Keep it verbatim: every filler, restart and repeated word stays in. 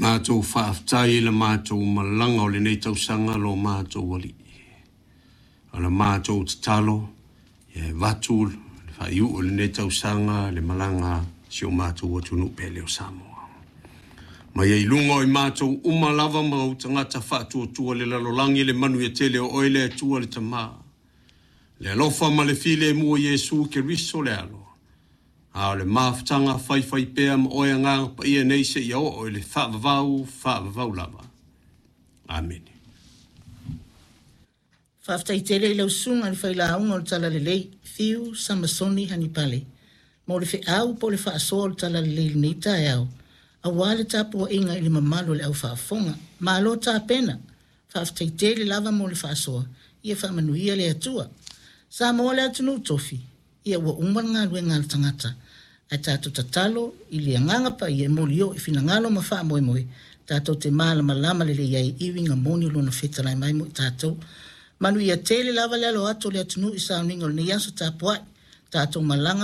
Matou faafetai i le matou malaga o lenei tausaga lo matou Alii. O le matou tatalo, ia e avatu le faaiu'u o lenei tausaga le malaga a si o matou atunuu pele o Samoa. Ma ia i luga o i matou uma lava ma ou tagata faatuatua le lalolagi le manuia tele o oe le Atua le Tamā, le alofa ma le filemu o Iesu Keriso le Alo, a o le mafutaga faifaipea ma oe Agaga Paia nei seia oo i le faavavau, faavavau lava. Amene. Faafetai tele i lau susuga i le failauga o le Talalelei, Fiu Samasoni Hanipale, mo le feau po o le faasoa o le Talalelei i lenei taeao, aua le tapuaiga i le mamalu o le aufaafofoga. Malo tapena, faafetai tele lava mo le faasoa, ia faamanuia le Atua. Samoa le atunuu tofi, ia ua uma le galuega a le tagata, ae tatou tatalo i le Agaga Paia e molioo i finagalo ma faamoemoe tatou te malamalama lelei ai i uiga moni o Lona fetalai mai mo i tatou. Manuia tele lava le alo atu o le atunuu i sauniga o lenei aso tapuai. Tatou malaga